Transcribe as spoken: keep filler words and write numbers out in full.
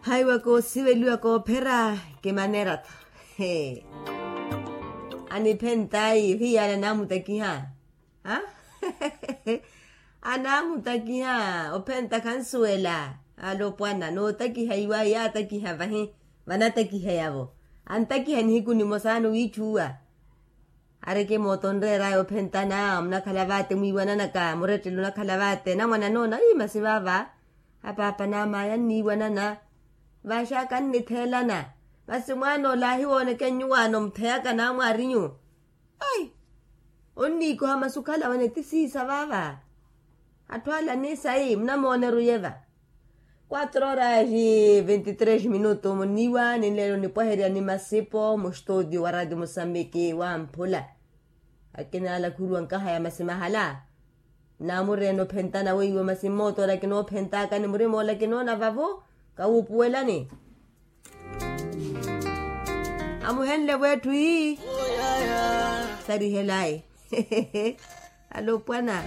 Haiwa koosiveliwa koophera. Kimanera-tho. Aniphentaayi ohiyana namutakiha. Anamutakiha ophenta khansuwela. Alopwana nootakiha iwaayi yaatakiha vahi. Vanatakiha yavo antakiha nihiku nimosa anowiithuwa. Areke mooto onreeraya ophentana munakhala vaate mwiiwananaka murettele onakhala vaate namwana noona ii masi vaava. Apaapa n'amaaya anniiwanana. Vaaxaka annitheelana. Masi mwaana ola ahiwooneke nyuwaano mutheyaka naamwaarinyu. Ai. Onniikoha masi okhala wene ti siisa vaava. Atthu ala ni sayi munamooneru yeva. Quatro horas e vinte e três minutos muniiwa ninleelo nipwaherya ni masipo mustutio wa radio mosambiki wamphula. Akina ala khuruwa nkahaya masi mahala. Namureena ophentana weiwo masi mmooto ola kinoophentaka ni murima ola kinoona vavo. Kawuupuwelani. Amuhenle vwetthu ii. Sarihelayi. Alopwana.